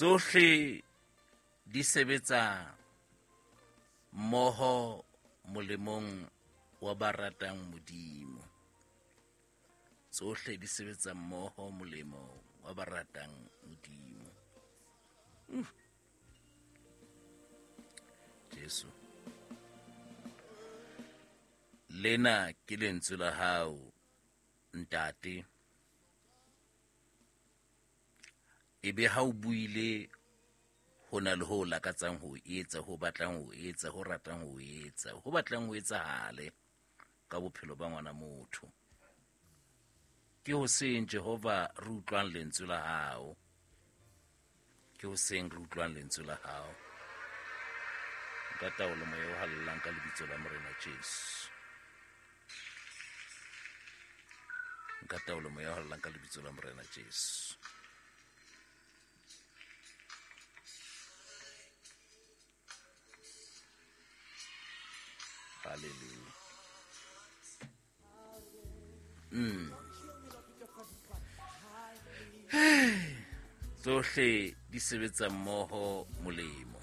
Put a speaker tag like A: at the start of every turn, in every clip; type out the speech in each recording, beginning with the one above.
A: Tsohle di sebetsa mmoho molemong wa ba ratang Modimo. Tsohle di sebetsa mmoho molemo wa ba ratang Modimo. Jesu. Lena ke lentswe la hao, Ntate. Ebe ha o buile ho na le ho lakatsang ho etsa, ho batlang ho etsa, ho ratang ho etsa, ho batlang ho etsahale ka bophelo ba ngwana motho. Ke hoseng Jehova re utlwang lentswe la hao. Ke hoseng re utlwang lentswe la hao. Nka taolo moya o hallelang ka lebitso la Morena Jesu. Nka taolo moya o hallelang ka lebitso la Morena Jesu. Hallelujah. Tsohle di sebetsa mmoho molemo.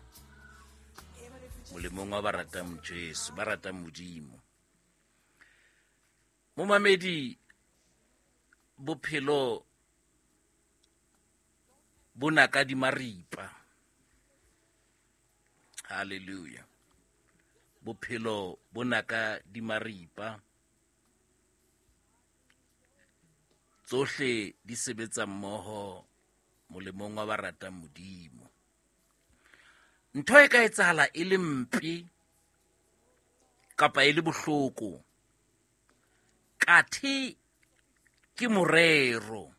A: Molemong wa ba ratang Jesu, ba ratang Modimo. Momamedi, bophelo bo naka di maripa. Hallelujah. Bophelo bo naka di maripa. Tsohle di sebetsa mmoho molemong wa ba ratang Modimo. Ntho e ka etsahala e le mpe kapa e le bohloko, kathe ke morero,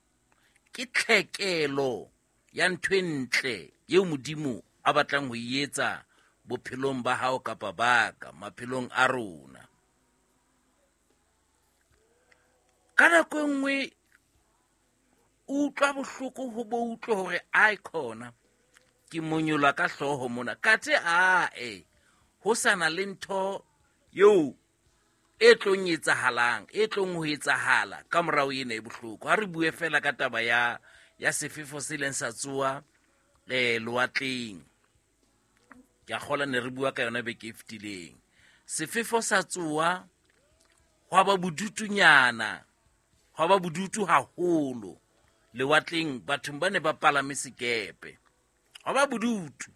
A: ke tlhekelo ya ntho e ntle eo Modimo a batlang ho e etsa bophelong ba hao kapa ba ka, maphelong a rona. Ka nako e nngwe o utlwa bohloko ho bo utlwe hore ai khona ke monyola ka hlooho mona, kathe ae ho sa na le ntho eo e tlong etsahalang, e tlong ho etsahala ka morao ena e bohloko. Ha re bue fela ka taba ya sefefo se ileng sa tsoa lewatleng. Ke a kgolwa ne re bua ka yona beke e fetileng. Sefefo sa tsoa, hwa ba bodutunyana, hwa ba bodutu haholo lewatleng, bathong ba ne ba palame sekepe. Hwa ba bodutu.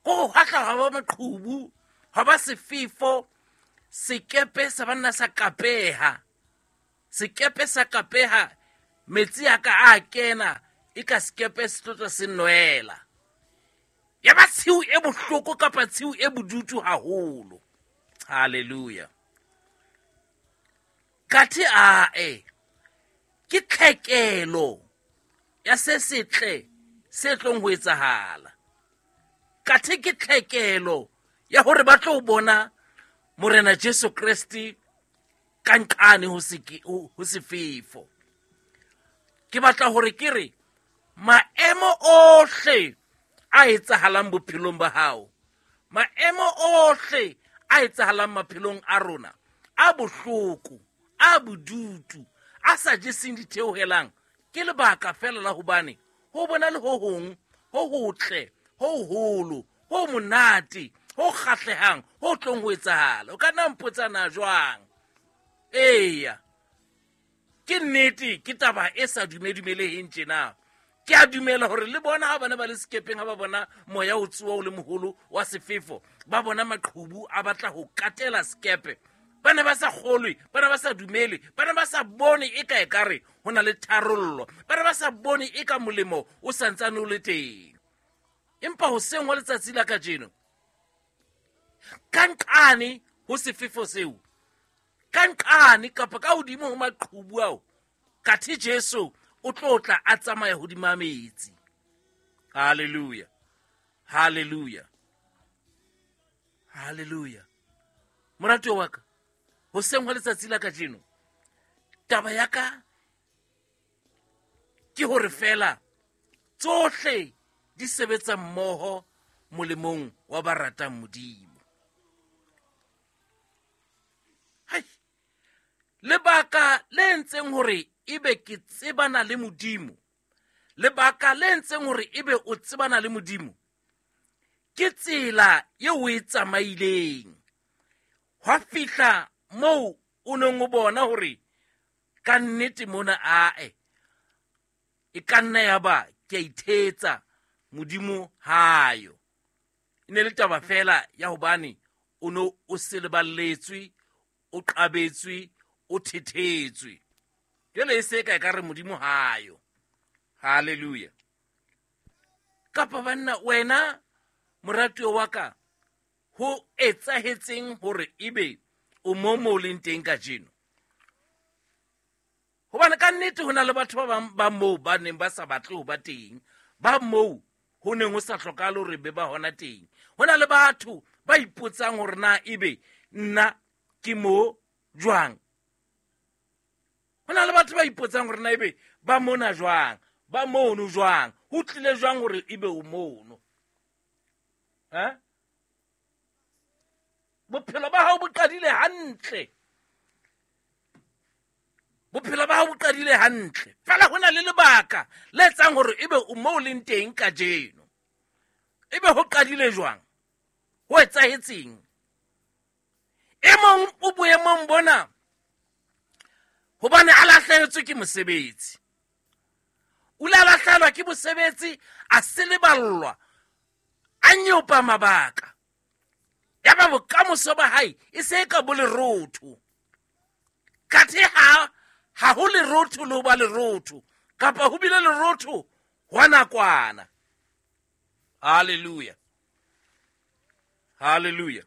A: Ko hwa tla hwa ba maqhubu, hwa ba sefefo, sekepe sa banna sa kapeha. Sekepe sa kapeha, metsi a ka a kena, e ka sekepe se tlo tswa se nwela. Ya ba tshiu e bohloko kapa tshiu e bodutu haholo. Hallelujah. Kathe ae, ke tlhekelo ya se setle se tlong ho etsahala. Kathe ke tlhekelo ya hore ba tlo bona Morena Jesu Kreste ka nqane ho ho sefefo. Ke batla hore ke re maemo ohle a etsahalang bophelong ba hao, maemo ohle a etsahalang maphelong a rona, a bohloko, a bodutu, a sa jeseng ditheohelang, ke lebaka fela la hobane ho bona le ho hong, ho hotle, ho hoholo, ho monate, ho kgahlehang, ho tlong ho etsahala. O ka nna mpotsa na jwang? Eya, ke nnete, ke taba e sa dumedumeleheng tjena. Ke a dumela hore le bona ha bana ba le sekepeng, ha ba bona moya o tsoa o le moholo wa sefefo, ba bona maqhubu a batla ho katela sekepe. Ba ne ba sa kgolwe, ba ne ba sa dumele, ba ne ba sa bone e ka ekare ho na le tharollo, ba ne ba sa bone e ka molemo o santsane o le teng. Empa hoseng wa letsatsi la kajeno, ka nqane ho sefefo seo, ka nqane kapa ka hodimo ho maqhubu ao, kathe Jesu o tlo tla a tsamaya hodima metsi. Hallelujah, hallelujah, hallelujah. Moratuwa wa ka, hoseng hwa letsatsi la kajeno, taba ya ka ke hore fela tsohle di sebetsa mmoho molemong wa ba ratang Modimo. Hai, lebaka le entseng hore ebe ke tsebana le Modimo, Lebaka le entseng hore ebe o tsebana le Modimo ke tsela eo o e tsamaileng. Hwa fihla moo o neng o bona hore ka nnete mona ae e ka nna ya ba ke a ithetsa, Modimo hayo. E ne le taba fela ya hobane o no o seleballetswe, o qabetswe, o thethetswe. Jwale e se ka e ka re Modimo hayo. Hallelujah. Kapa banna, wena moratuwa wa ka, ho etsahetseng hore ebe o mo mo leng teng kajeno? Hobane ka nnete ho na le batho ba bang ba moo ba neng ba sa batle ho ba teng, ba moo ho neng ho sa hlokahale hore be ba hona teng. Ho na le batho ba ipotsang hore na ebe nna ke mo jwang. Ho na le batho ba ipotsang hore na ebe ba mona jwang, ba mono jwang, ho tlile jwang hore ebe o mono. Ha? Bophelo ba hao bo qadile hantle. Bophelo ba hao bo qadile hantle. Fela ho na le lebaka le etsang hore ebe o moo leng teng kajeno. Ebe ho qadile jwang? Ho etsahetseng? E mong o boemong bona hobane a lahlehetswe ke mosebetsi. O ile a lahlehelwa ke mosebetsi, a seleballwa, a nyopa mabaka. Yaba bokamoso ba hae e se e ka bo lerotho. Kathe ha ho lerotho le ho ba lerotho, kapa ho bile lerotho hwa nakwana. Hallelujah. Hallelujah.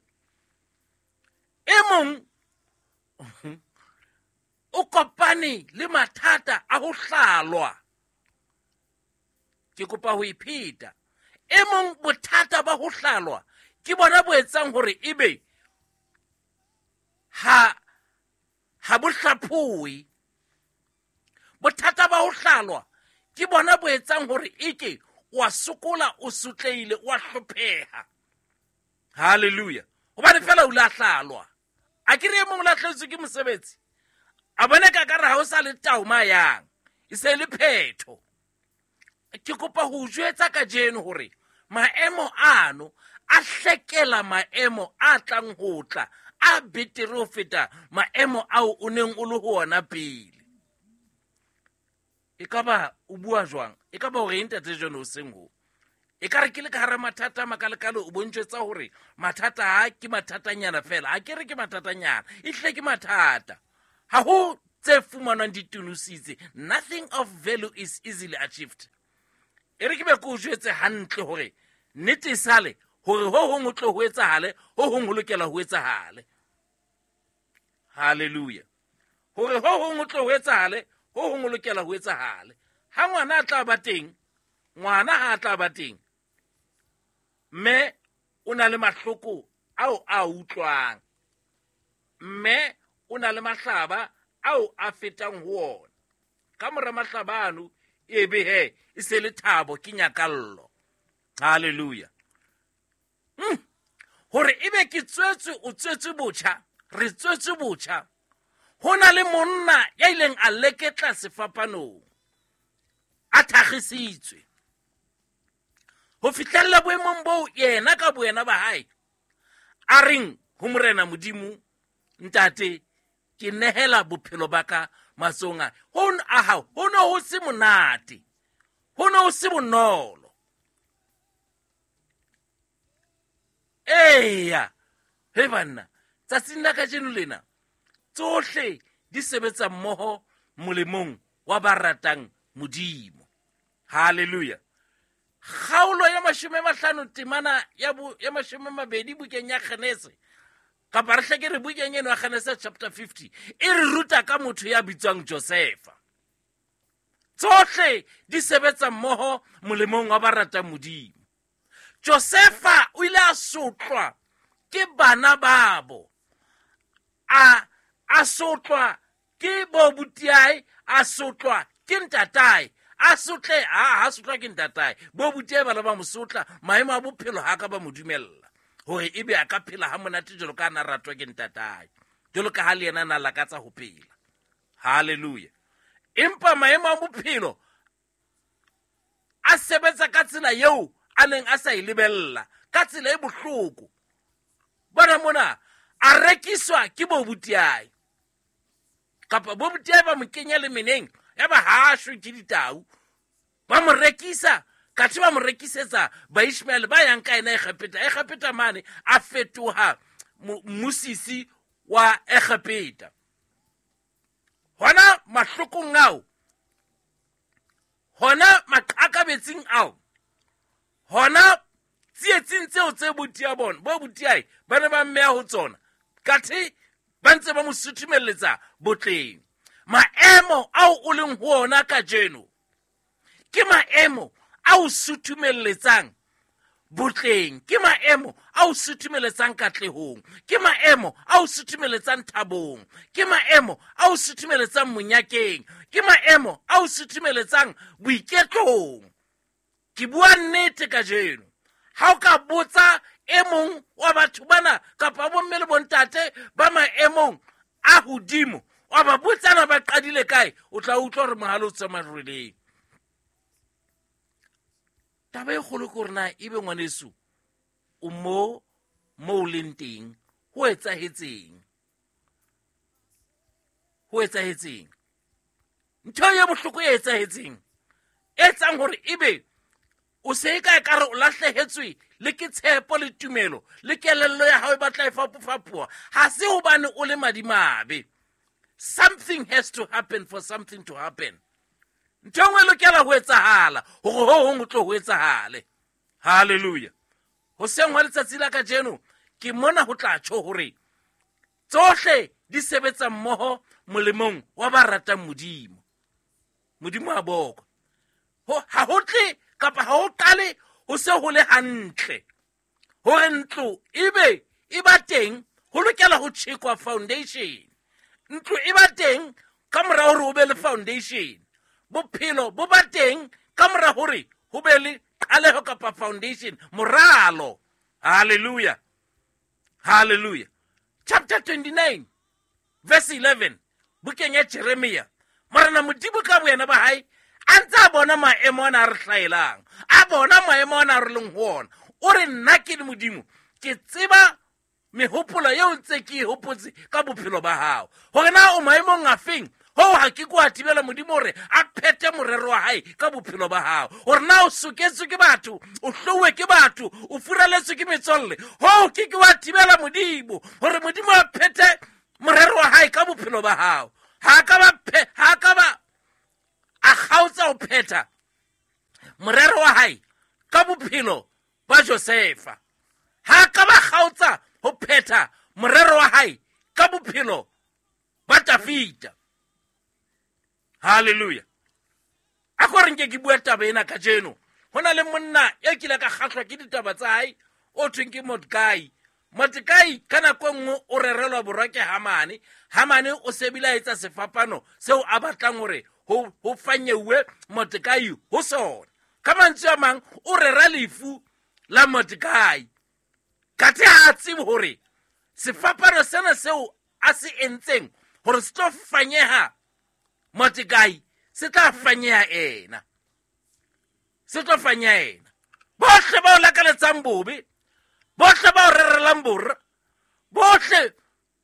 A: E mong o kopane le mathata a ho hlalwa. Ke kopa ho ipheta. E mong bothata ba ho hlalwa ke bona bo etsang hore ebe ha bo hlaphoe. Bothata ba ho hlalwa ke bona bo etsang hore eke wa sokola, o sotlehile, wa hlopheha. Hallelujah. Hobane fela o la hlalwa. A ke re e mong o lahlehetswe ke mosebetsi. A bone ka kare ha o sa le tao ma yang. E se le phetho. Ke kopa ho jwetsa kajeno hore maemo ano a hlekela maemo a tlang ho tla, a betere ho feta maemo ao o neng o le ho ona pele. E ka ba o bua jwang? E ka ba hore ntate John o seng ho? E ka re ke le ka hara mathata a makalekale, o bontšetsa hore mathata a ke mathatanyana fela. Ha ke re ke mathatanyana, e hlile ke mathata. Ha ho tse fumanwang di tunositse. Nothing of value is easily achieved. E re ke be ke o jwetse hantle hore nnete e sale hore ho hong ho tlo ho etsahale, ho hong ho lokela ho etsahale. Hallelujah. Hore ho hong ho tlo ho etsahale, ho hong ho lokela ho etsahale. Ha ngwana a tla ba teng, ngwana ha a tla ba teng, mme o na le mahloko ao a utlwang, mme o na le mahlaba ao a fetang ho ona. Ka mora mahlaba ano, e be he, e se le thabo, ke nyakallo. Hallelujah. Hore ebe ke tswetswe, o tswetswe botjha, re tswetswe botjha. Ho na le monna ya ileng a leketla sefapanong, a thakgisitswe. Ho fihlella boemong boo yena ka boyena ba hae, a reng ho Morena Modimo, Ntate, ke nehela bophelo ba ka matsohong a a hao. Ho ne ho se monate, ho ne ho se bonolo. Eya, he banna, tsatsing la kajeno lena, tsohle di sebetsa mmoho molemong wa ba ratang Modimo. Hallelujah. Kgaolo ya 50 temana ya 20 bukeng ya Genese, kapa re hle ke re bukeng eno ya Genese chapter 50, e re ruta ka motho ya bitswang Josefa. Tsohle di sebetsa mmoho molemong wa ba ratang Modimo. Josefa o ile a sotlwa ke bana babo, a sotlwa ke bo butiae, a sotlwa ke ntatae, a sotle, ha sotlwa ke ntatae. Bo butiae bana ba mo sotla, maemo a bophelo ha ka ba mo dumella hore ebe a ka phela ha monate jwalo ka na ratwa ke ntatae, jwalo ka ha le yena na lakatsa ho phela. Hallelujah. Empa maemo a bophelo a sebetsa ka tsela eo a neng a sa e lebella, ka tsela e bohloko. Bona mona, a rekiswa ke bobutiae, kapa bobutiae ba mo kenya lemeneng, ya ba ha shwe ke ditau. Ba mo rekisa, kathe ba mo rekisetsa Baishmaele ba yang ka ena Egepeta. Egepeta mane a fetoha mmusisi wa Egepeta. Hona mahlokong ao, hona maqakabetsing ao, hona tsietsing tseo tse botia bona, bo botiae ba ne ba mmeha ho tsona, kathe ba ntse ba mo suthumelletsa botleng. Maemo ao o leng ho ona kajeno ke maemo a o suthumelletsang botleng, ke maemo a o suthumeletsang katlehong, ke maemo a o suthumeletsang thabong, ke maemo a o suthumeletsang monyakeng, ke maemo a o suthumeletsang boiketlong. Ke bua nnete kajeno. Ha o ka botsa e mong wa batho bana kapa bomme le bontate ba maemong a hodimo, wa ba botsana ba qadile kae, o tla utlwa hore mohale o tswa marweleng. Taba e kgolo ke hore na ebe ngwaneso o mo o leng teng, ho etsahetseng? Ho etsahetseng? Ntho e bohloko e etsahetseng, e etsang hore ebe o se e ka ekare o lahlehetswe le ke tshepo le tumelo le kelello ya hao e batla e fapofapoha, ha se hobane o le madimabe. Something has to happen for something to happen. Ntho e nngwe e lokela ho etsahala hore ho hong ho tlo ho etsahale. Hallelujah. Hoseng hwa letsatsi la kajeno ke mona ho tla tjho hore tsohle di sebetsa mmoho molemong wa ba ratang Modimo. Modimo a bokwe. Ha ho tle kapa ha ho qale ho se ho le hantle hore ntlo ebe e ba teng, ho lokela ho tjhekwa foundation. Ntlo e ba teng ka mora hore ho be le foundation. Bophelo bo ba teng ka mora hore ho be le qaleho kapa foundation, moralo. Hallelujah. Hallelujah. Chapter 29 verse 11, bukeng ya Jeremia, Morena Modimo ka boyena ba hae a ntse a bona maemo ana a re hlaelang, a bona maemo ana a re leng ho ona. O re, nna ke le Modimo, ke tseba mehopolo eo ntse ke e hopotse ka bophelo ba hao, hore na o maemong a feng. Hoo ha ke kwa thibela Modimo hore a phethe morero wa hae ka bophelo ba hao, hore na o soketswe ke batho, o hlouwe ke batho, o furaletswe ke metswalle. Hoo ke ke wa thibela Modimo hore Modimo a phethe morero wa hae ka bophelo ba hao. Ha ka ba a kgaotsa ho phetha morero wa hae ka bophelo ba Josefa. Ha ka ba kgaotsa ho phetha morero wa hae ka bophelo ba Dafida. Hallelujah. A ko re nke ke bua taba ena kajeno. Ho na le monna e kile ka kgahlwa ke ditaba tsa hae, o thweng ke Mordekai. Mordekai ka nako e nngwe o rerelwa borwa ke Hamane. Hamane o sebile a etsa sefapano seo a batlang hore ho fanyeuwe Mordekai ho sona. Ka mantswe a mang, o rera lefu la Mordekai. Kathe ha a tsebe hore sefapano sena seo a se entseng hore se tlo fanyeha Mordekai, se tla fanyeha ena. Se tlo fanyeha ena. Bohle ba o lakaletsang bobe, bohle ba o rerelang borra, bohle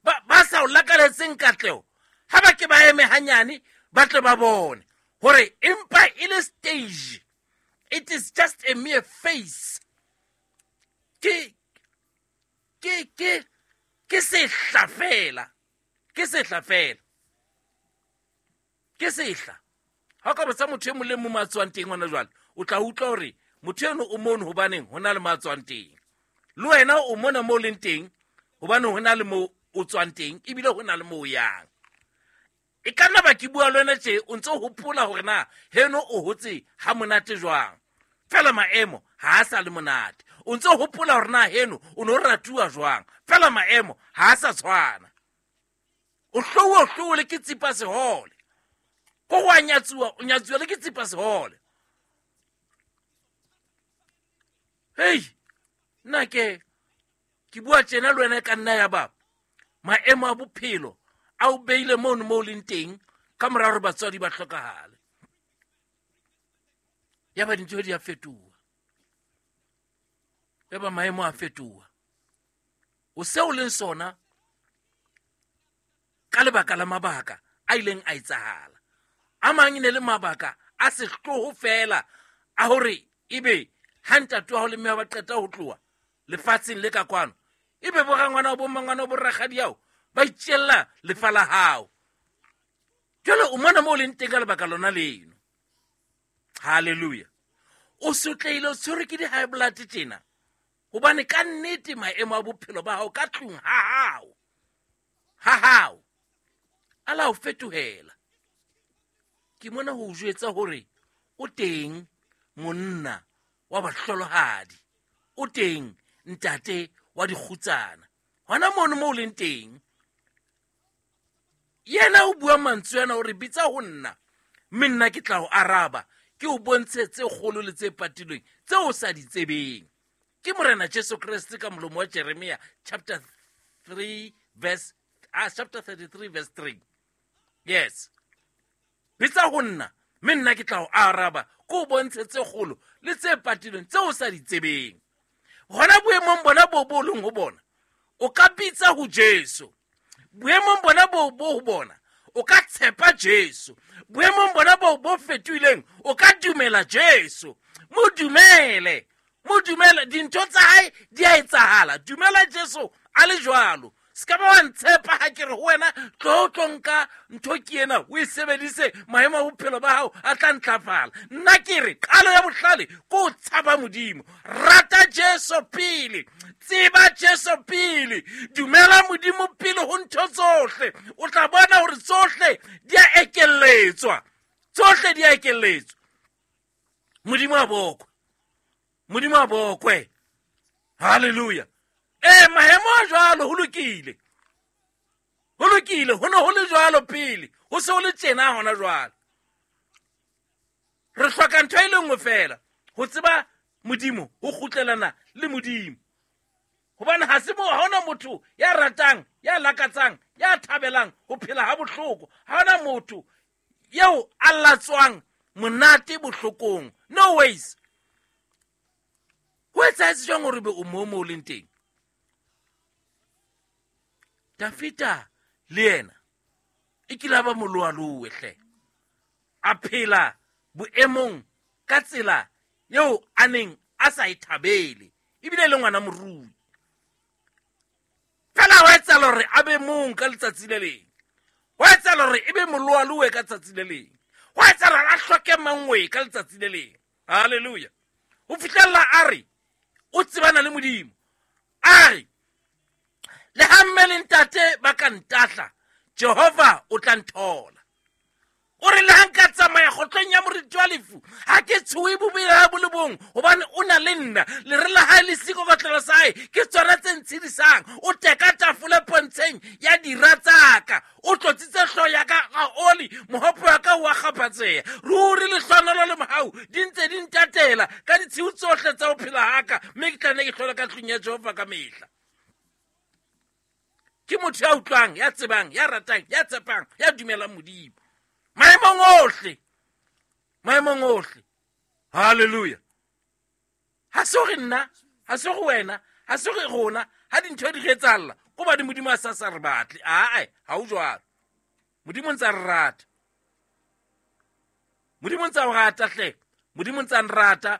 A: ba sa o lakaletseng katleho, ha ba ke ba eme hanyane, ba tle ba bone hore empa e le stage. It is just a mere face. Ke sehla fela. Ke sehla fela. Ke sehla. Ha o ka botsa motho e mong le mong a tswang teng hona jwale, o tla utlwa hore motho eno o mono hobaneng ho na le mo a tswang teng. Le wena o mona mo leng teng hobane ho na le mo o tswang teng, ebile ho na le mo o yang. E ka nna ba ke bua le wena tje, o ntse o hopola hore na heno o hotse ha monate jwang. Fela maemo ha a sa le monate. O ntse o hopola hore na heno o no ratuwa jwang. Fela maemo ha a sa tshwana. O hlouwe, o hlouwe le ke tsipa sehole. Ko go a nyatsuwa, o nyatsuwa le ke tsipa sehole. Hei, nna ke bua tjena le wena e ka nna ya ba maemo a bophelo a o beile mono mo o leng teng ka mora hore batswadi ba hlokahale. Ya ba dintho di a fetoha, ya ba maemo a fetoha. O seo leng sona ka lebaka la mabaka a ileng a etsahala. A mang e ne le mabaka a sehloho fela a hore ebe ha ntate wa hao le mme ba qeta ho tloha lefatsheng le ka kwano, ebe bo rangwana bo mmangwana bo rakgadi hao ba itjella lefa la hao. Jwale o mona mo o leng teng ka lebaka lona leno. Hallelujah. O sotlehile, o tshwerwe ke di-high blood tjena, hobane ka nnete maemo a bophelo ba hao ka tlung ha hao a la o fetohela. Ke mona ho o jwetsa hore o teng monna wa bahlolohadi, o teng ntate wa dikgutsana hona mono mo o leng teng. Yena o bua mantswe ana o re bitsa ho nna, mme nna ke tla o araba, ke o bontshe tse kgolo le tse patilweng tse o sa di tsebeng. Ke Morena Jesu Kreste ka molomo wa Jeremia chapter 3 verse chapter 33 verse 3. Yes. Bitsa ho nna, mme nna ke tla o araba, ke o bontshe tse kgolo le tse patilweng tse o sa di tsebeng. Hona boemong bona bo bo leng ho bona, o ka bitsa ho Jesu. Boemong bona bo bo ho bona, o ka tshepa Jesu. Boemong bona bo bo fetohileng, o ka dumela Jesu. Mo dumele, mo dumele, dintho tsa hae di a etsahala. Dumela Jesu a le jwalo. Se ka ba wa ntshepa ha ke re ho wena tlo tlo nka ntho ke ena o e sebedise, maemo a bophelo ba hao a tla ntlafala. Nna ke re qalo ya bohlale ke ho tshaba Modimo. Rata Jesu pele, tseba Jesu pele, dumela Modimo pele ho ntho tsohle. O tla bona hore tsohle di a ekelletswa, tsohle di a ekelletswa. Modimo a bokwe, Modimo a bokwe. Hallelujah. Maemo a jwalo ho lokile, ho lokile, ho ne ho le jwalo pele, ho se ho le tjena hona jwale. Re hloka ntho e le nngwe fela, ho tseba Modimo, ho kgutlelana le Modimo. Hobane ha se mo, ha hona motho ya ratang, ya lakatsang, ya thabelang ho phela ha bohloko. Ha hona motho eo a latswang monate bohlokong. No ways. Ho etsahetse jwang hore be o mo mo leng teng? Dafita le yena e kile a ba moloaloe hle, a phela boemong ka tsela eo a neng a sa e thabele, ebile le ngwana morui. Fela wa etsahala hore a be mong ka letsatsi le leng, wa etsahala hore e be moloaloe ka tsatsi le leng, wa etsahala hore a hloke mangwe ka letsatsi le leng. Hallelujah. Ho fihlella a re o tsebana le Modimo, a re le ha mme le ntate ba ka ntahla, Jehova o tla nthola. O re le ha nka tsamaya kgohlong ya moriti wa lefu, ha ke tshohe bobe bo le bong, hobane o na le nna. Lere la hae le seikokotlelo sa hae ke tsona tse ntshedisang. O teka tafole pontsheng ya dira tsa ka, o tlotsitse hlooho ya ka ka oli, mohopo wa ka o a kgaphatseha. Ruri lehlohonolo le mohau di ntse di ntatela ka ditshiu tsohle tsa ho phela ha ka, mme ke tla nne ke hlole ka tlung ya Jehova ka mehla. Ke motho ya utlwang, ya tsebang, ya ratang, ya tshepang, ya dumelang Modimo maemong ohle, maemong ohle. Hallelujah. Ha se hore nna, ha se hore wena, ha se hore rona, ha dintho di re etsahalla, ko bane Modimo a sa sa re batle. Ae, ha ho jwalo. Modimo ntse a re rata. Modimo ntse a o rata hle. Modimo ntse a nrata.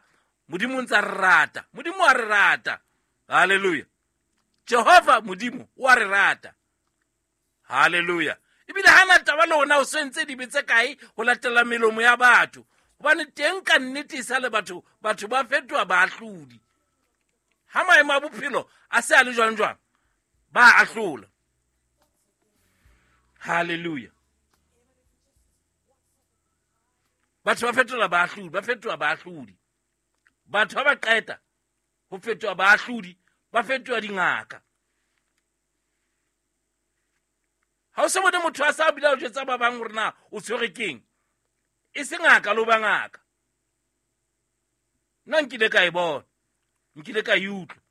A: Modimo ntse a re rata. Modimo a re rata. Hallelujah. Jehova Modimo o a re rata. Hallelujah. Ebile ha na taba le hona o sentse dibe tse kae ho latela melomo ya batho. Hobane teng ka nnete e sa le batho, batho ba fetoha baahlodi. Ha maemo a bophelo a se a le jwang jwang, ba ahlola. Hallelujah. Batho ba fetola baahlodi, ba fetoha baahlodi. Batho ba ba qeta ho fetoha baahlodi, ba fetoha dingaka. Ha o se bone motho a sa bile a jwetsa ba bang hore na o tshwere keng, e se ngaka le ho ba ngaka. Nna nkile ka e bona, nkile ka e utlwa.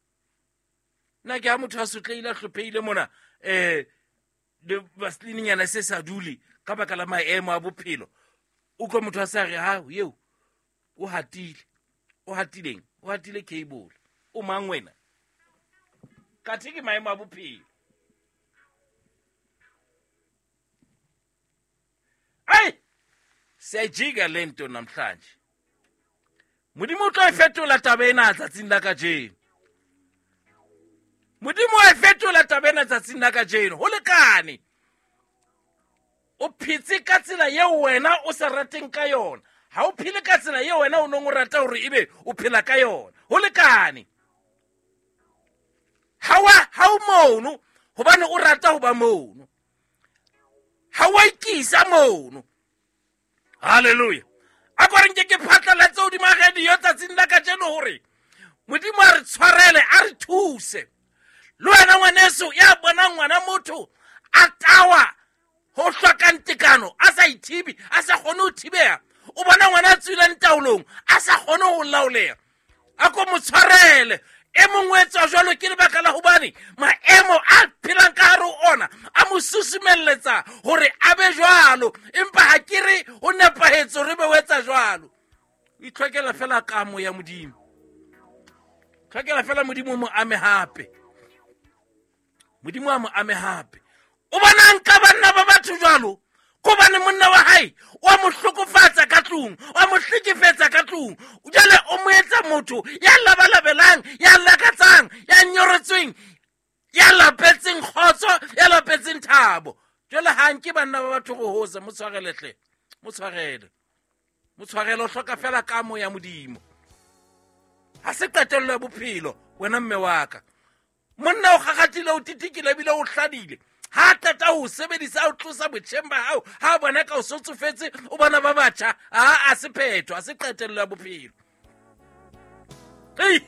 A: Nna ke ha motho a sotlehile, a hlophehile mona, le vaseline-nyana se sa dule ka baka la maemo a bophelo. Utlwa motho a sa re, ha, eo, O hatile. O hatileng? O hatile cable. O mang wena? Kathe ke maemo a bophelo. Ai! Siyayijika le nto namhlanje. Modimo o tlo e fetola taba ena tsatsing la kajeno. Modimo a e fetola taba ena tsatsing la kajeno. Ho lekane. O phetse ka tsela eo wena o sa rateng ka yona. Ha o phele ka tsela eo wena o neng o rata hore ebe o phela ka yona. Ho lekane. Ha o mono hobane o rata ho ba mono. Ha wa ikisa mono. Hallelujah. A ko re nke ke phatlalatse hodima radio tsatsing la kajeno hore Modimo a re tshwarele, a re thuse. Le wena ngwaneso ya bonang ngwana motho a tawa ho hlokang tekano, a sa ithibe, a sa kgone ho thibeha. O bona ngwana a tswileng taolong, a sa kgone ho laoleha. A ko mo tshwarele. E mongwe etswa jwalo ke lebaka la hobane maemo a phelang ka hare ho ona a mo susumelletsa hore a be jwalo, empa ha ke re ho nepahetse hore be o etsa jwalo. O itlhokela fela kamo ya Modimo. Tlhokela fela Modimo mo ame hape. Modimo a mo ame hape. O bonang ka banna ba batho jwalo? Kobane monna wa hae o a mo hlokofatsa ka tlung, o a mo hlekefetsa ka tlung. Jwale o mo etsa motho ya labalabelang, ya lakatsang, ya nyoretsweng, ya lapetseng kgotso, ya lapetseng thabo. Jwale ha nke banna ba batho go hosa, mo tshwarele hle, mo tshwarele. Mo tshwarele, o hloka fela kamo ya Modimo. Ha se qetello ya bophelo, wena mme wa ka. Monna o kgakgathile, o titikile ebile o hladile. Ha qeta ho sebedisa, o tlosa botjheng ba hao, ha bona ka o sotsofetse, o bona ba batjha, a se phetho, a se qetello ya bophelo. Ei!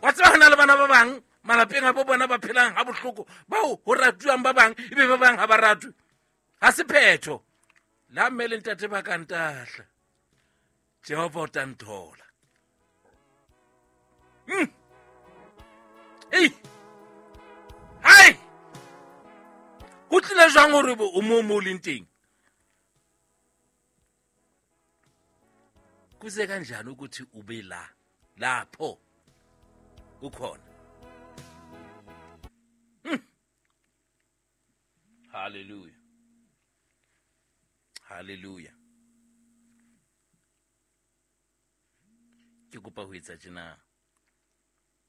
A: Wa tseba hona le bana ba bang malapeng a bo bona ba phelang ha bohloko, bao ho ratuwang ba bang, ebe ba bang ha ba ratwe. Ha se phetho. La mme le ntate ba ka ntahla, Jehova o tla nthola. Ei! Hai! Ho tlile jwang hore o mo mo leng teng? Kuze kanjani ukuthi ube la lapho ukhona? Hallelujah. Hallelujah. Ke kopa ho etsa tjena.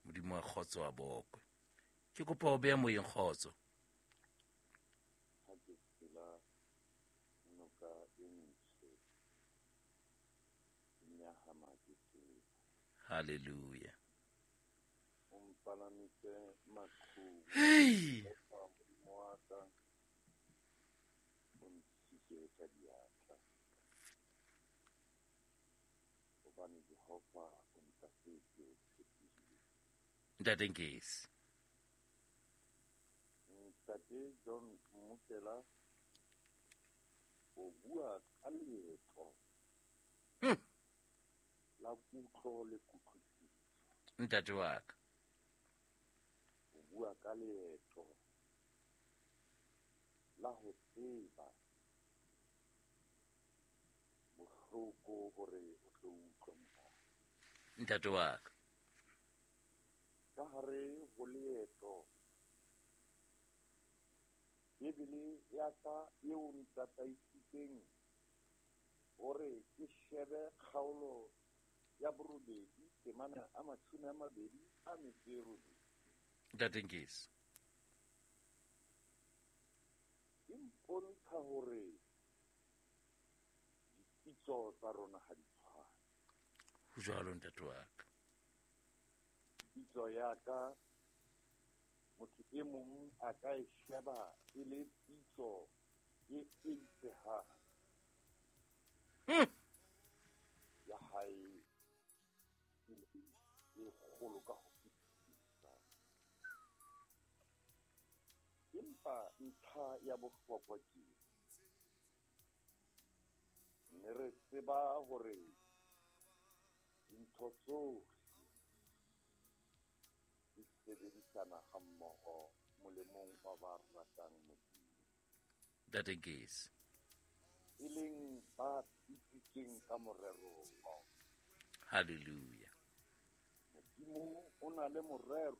A: Modimo wa kgotso wa bokwe. Ke kopa ho beha moyeng kgotso.
B: Ha ke tshela noka e ntsho, ke nyahama ke tsela.
A: Hallelujah.
B: O mpalamise maqhubu.
A: Hey!
B: Modimo wa ka, o ntshike ka diatla. Hobane Jehova o ntahletse, o tshepile.
A: Ntate Nkesi.
B: Ntate John Mmokela o bua ka leeto la kutlo le kutlwisiso.
A: Ntate wa ka.
B: O bua ka leeto la ho tseba bohloko hore o tlo utlwa monate.
A: Ntate wa ka.
B: Ka hare ho leeto, Bibele ya ka eo ntataisitseng hore ke shebe kgaolo ya 8 temana a 28.
A: Ntate Nkesi.
B: E mpontsha hore dipitso tsa rona ha di tshwane.
A: Ho jwalo ntate wa ka.
B: Pitso ya ka motho e mong a ka e sheba e le pitso e eitsehang. Ya hae e kgolo ka ho fetisisa. Empa ntlha ya bohlokwa ke mme re tseba hore dintho tsohle di sebedisana hammoho molemong wa ba ratang Modimo.
A: Ntate Nkesi.
B: E leng ba bitsitsweng biditseng ka morero wa ona.
A: Hallelujah.
B: Modimo o na le morero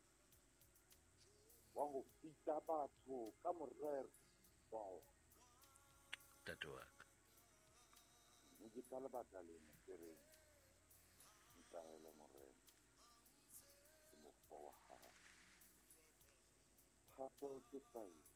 B: wa ho bitsa batho ka morero wa ona.
A: Ntate wa ka.
B: Mme ke ka lebaka lena ke reng, ntaele Morena, ke mokgwa wa hao. Thato ke taelo.